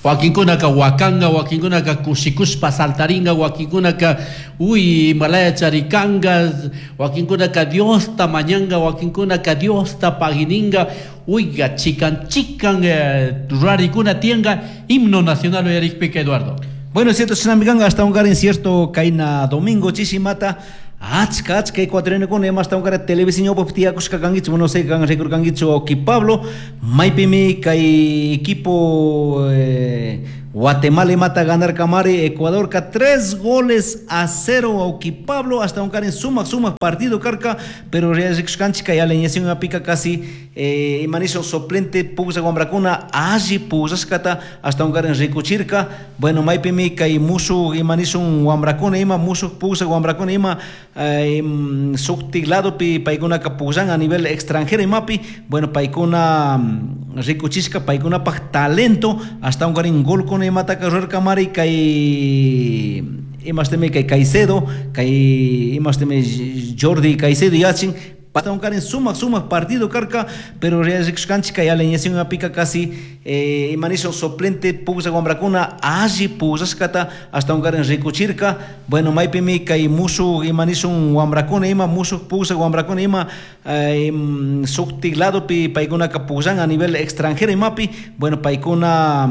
Wakinkunaka wakanka, wakinkunaka kushikushpa saltaringa, wakinkunaka uy Himalaya charikanga, wakinkunaka Diosta mañanga, wakinkunaka Diosta pagininga, uyga chikan chikan rurarikuna tianga himno nacional uyarikpika, Eduardo. Bueno, cierto, shinami hasta un cierto kaina domingo chishimata achka achka ecuatorianokuna ima ashtawankara televisión tiyakushka kankichik, no sé, kan rikurkankichik wawki Pablo, maypimi kay equipo Guatemala imata ganarkamari Ecuadorka 3 goles a 0, wawki Pablo. Ashtawankarin sumak sumak partido karka, pero rikushkanchik kay alineación apika casi ima nishun suplente pukllak wambrakuna alli pukllashkata ashtawankarin rikuchirka. Bueno, maypimi kay mushuk ima nishun wambrakuna ima mushuk pukllak wambrakuna ima shuktik ladopi paykunaka pukllan a nivel extranjero imapi. Bueno, paykuna rikuchishka paykunapak talento, ashtawankarin golkuna imataka rurarkamari kay imashtimi kay Caicedo, kay imashtimi Jordi Caicedo yachin. Ashtawankarin sumak sumak partido karka, pero rikushkanchik kay alineación apika casi ima nishun suplente pukllak wambrakuna alli pukllashkata ashtawankarin rikuchirka. Bueno, maypimi kay mushuk ima nishun wambrakuna ima mushuk pukllak wambrakuna ima shuktik ladopi paykunaka pukllan a nivel extranjero imapi. Bueno, paykuna